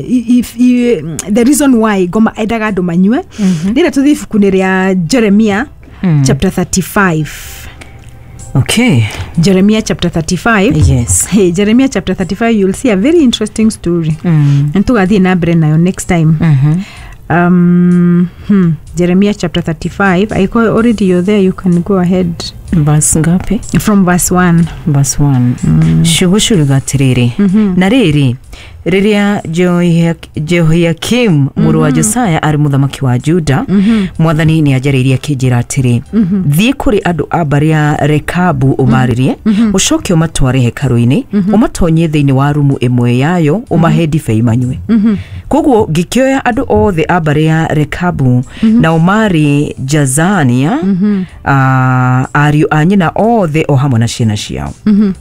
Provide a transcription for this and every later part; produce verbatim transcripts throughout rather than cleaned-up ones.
if, if, the reason why ngoma endaga andũ manyue, rĩrĩa tũthiĩ ibuku-inĩ rĩa Jeremia Mm. chapter thirty-five. Okay. Jeremiah chapter thirty-five. Yes. Hey, Jeremiah chapter thirty-five, you'll see a very interesting story. Mm. And tugathiĩ na mbere nayo next time. Mhm. um, hmm, Jeremiah chapter thirty-five. I call already, you're there, you can go ahead. Verse ngapi? From verse one. Verse one. Ciugo ciugaga atĩrĩrĩ, na rĩrĩ, rĩrĩa Jehoiak- jehoiakim mũrũ wa Josiah arĩ mũthamaki wa Juda, Mwathani nĩ anjarĩirie akĩnjĩra atĩrĩ, thiĩ kũrĩ andũ a mbarĩ ya Rekabu ũmarĩrie, ũcoke ũmatware hekarũ-inĩ, ũmatonyie thĩinĩ wa rumu ĩmwe yayo, ũmahe ndibei manyue. Koguo ngĩkĩoya andũ othe a mbarĩ ya Rekabu, nao marĩ Jazania, ah, ariũ a nyina othe o hamwe na ciana ciao,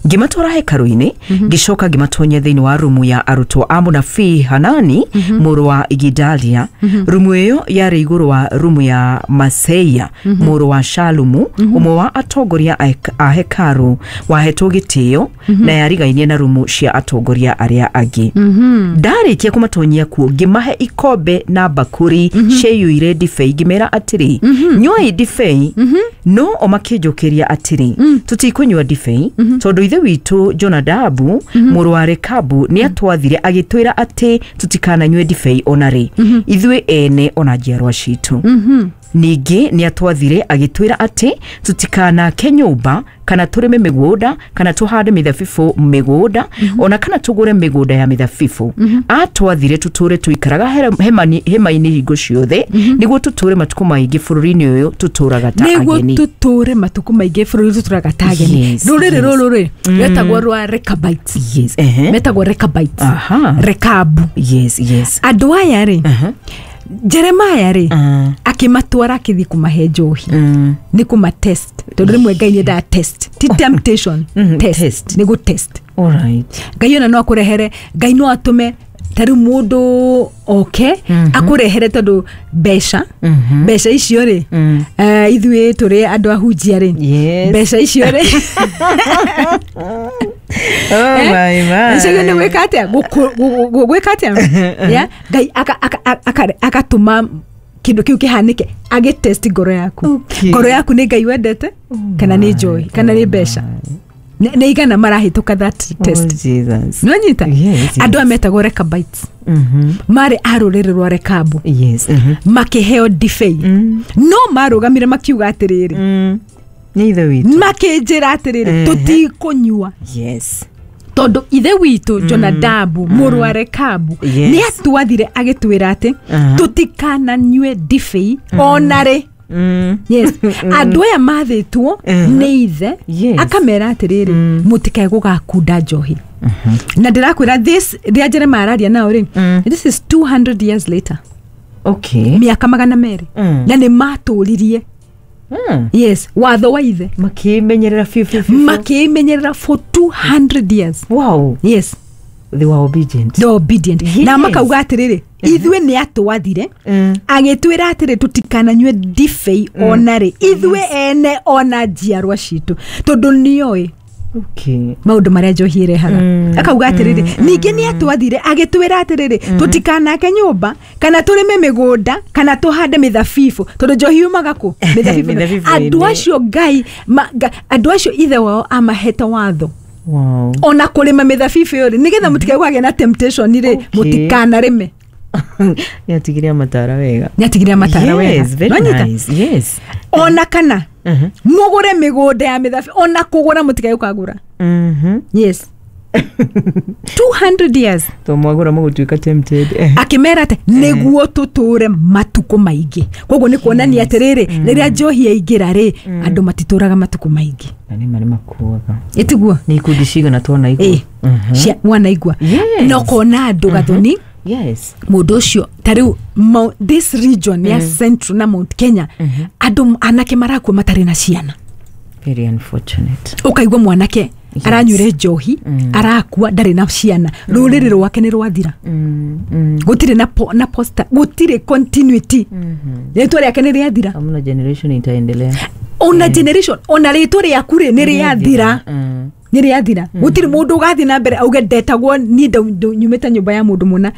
ngĩmatwara hekarũ-inĩ, ngĩcoka ngĩmatonyia thĩinĩ wa rumu ya arutwo a mũnabii Hanani mũrũ wa Igidalia. Rumu ĩyo yarĩ igũrũ wa rumu ya Maseia mũrũ wa Shalumu, ũmwe wa atongoria a hek- a hekarũ wahetwo gĩtĩo, na yarigainie na rumu cia atongoria arĩa angĩ. Ndarĩkia kũmatonyia kuo, ngĩmahe ikombe na mbakũri ciaiyũire ndibei, ngĩmera atĩrĩ, nyuai ndibei. No o makĩnjũkĩria atĩrĩ, tũtikũnyua ndibei, tondũ ithe witũ Jonadabu mũrũ wa Rekabu nĩ atwathire agĩtwĩra atĩ tũtikananyue ndibei ona rĩ, ithuĩ ene ona njiarwa citũ. Ningĩ nĩ atwathire agĩtwĩra atĩ tũtikanake nyũmba kana tũrĩme mĩgũnda kana tũhande mĩthabibũ mĩgũnda ona kana tũgũre mĩgũnda ya mĩthabibũ. Atwathire tũtũre tũikaraga hera- hema-inĩ hema-inĩ hingo ciothe, nĩguo tũtũre matukũ maingĩ bũrũri-inĩ ũyũ tũtũraga ta Nĩguo ageni. Tũtũre matukũ maingĩ bũrũri tũtũraga ta ageni. Yes, Rũrĩrĩ yes. rũrũ rĩ rwetagwo rwa Recabites. Yes ehe Metagwo Recabites. Aha. Rekabu. yes yes Andũ aya rĩ, Aha. Jeremaya rĩ, Mm. akĩmatwara akĩthiĩ kũmahe njohi Mm. nĩ kũma test, tondũ rĩmwe Ngai nĩ endaga test, ti temptation. Mhm, Test. Test. Nĩ gũ test. All right. Ngai ona no akũrehere, Ngai no atũme ta rĩu mũndũ oke akũrehere, tondũ mbeca, mbeca icio rĩ, Mm. eh, ithuĩ tũrĩ andũ ahunjia rĩ, Yes. mbeca icio rĩ, Oh my my. icio nĩ gwĩka atĩa? Gũkũ- gũ- gũ- gwĩka atĩa? Yeah? Ngai aka- aka- aka- agatũma kĩndũ kĩu kĩhanĩke agĩtest ngoro yaku. Okay. Ngoro yaku nĩ Ngai wendete kana nĩ njohi kana nĩ mbeca? Nĩ nĩ igana marahĩtũka that test? Oh, Jesus. Nĩwanyita? Yes, yes. Andũ aya metagwo Recabites, Mhm. marĩ a rũrĩrĩ rwa Rekabu. Yes. Mhm. Makĩheo ndibei, no marũgamire makiuga atĩrĩrĩ, Mm. Nĩ ithe witũ. Makĩnjĩra atĩrĩrĩ, Mhm. tũtikũnyua, Yes. tondũ ithe witũ Jonadabu mũrũ wa Rekabu Yes. nĩ atwathire agĩtwĩra atĩ Aha. tũtikananyue ndibei ona rĩ. Mm. Yes, andũ aya mathĩtwo Mhm. nĩ ithe, Yes. akamera atĩrĩrĩ, mũtikae gũgakunda njohi. Na ndĩrakwĩra this, rĩrĩa Jeremaya araria nao rĩ, Mm. this is two hundred years later. Okay. Mĩaka magana merĩ. Mm. Na nĩ matũririe, Mm. yes, watho wa ithe. Makĩmenyerera biũ biũ biũ. Makĩmenyerera for two hundred years. Wow. Yes. They were obedient. The obedient. Yes. Na makauga atĩrĩrĩ, ithuĩ nĩ atwathire Mm. agĩtwĩra atĩrĩ tũtikananyue ndibei ona rĩ, ithuĩ ene ona njiarwa citũ, tondũ nĩoĩ Okay. maũndũ marĩa njohi ĩrehaga. Mm, Akauga atĩrĩrĩ, ningĩ nĩ atwathire agĩtwĩra atĩrĩrĩ, tũtikanake nyũmba kana tũrĩme mĩgũnda kana tũhande mĩthabibũ, tondũ njohi yumaga kũ? Mĩthabibũ. Mĩthabibũ-inĩ. Andũ acio Ngai ma- nga- andũ acio ithe wao amahete watho Wow. ona kũrĩma mĩthabibũ ĩyo rĩ, nĩgetha mũtikae kũgĩa na temptation rĩ, Okay. mũtikanarĩme. Nĩatigire amatara wega. Nĩatigire amatara wega. Yes, very Nĩwanyita? nice. Yes. Ona kana Mhm. mũgũre mĩgũnda ya mĩthabibũ, ona kũgũra mũtikae gũkagũra. Mhm. Yes, two hundred years. To mwagũra mũgũtuĩka tempted. Eh. Akĩmera atĩ nĩguo tũtũre matukũ maingĩ. Koguo nĩ kuonania atĩrĩrĩ, rĩrĩa njohi yaingĩra rĩ, andũ matitũraga matukũ maingĩ. Na nĩ marĩ makuaga. Ĩtiguo? Nĩ ikundi cigana twanaigua. Ĩ Mhm. cia wanaigua. Yes. Na ũkona andũ gathoni, Yes. mũndũ ũcio ta rĩu Mount- this region ya Central na Mount Kenya, andũ anake marakua matarĩ na ciana. Very unfortunate. Ũkaigua mwanake Yes. aranyuire njohi, arakua ndarĩ na ciana, rũrĩrĩ rwake nĩ rwathira. Mm. Mm. Gũtirĩ na, po, na posta, gũtirĩ continuity, rĩtwa rĩake nĩ rĩathira. Hamna generation itaendelea. Ona generation, ona rĩtwa rĩaku rĩ, nĩ rĩathira. Mm. Nĩ rĩathira, gũtirĩ mũndũ ũgathiĩ na mbere auge ndetagwo niĩ ndau- ndau- nyumĩte nyũmba ya mũndũ mũna.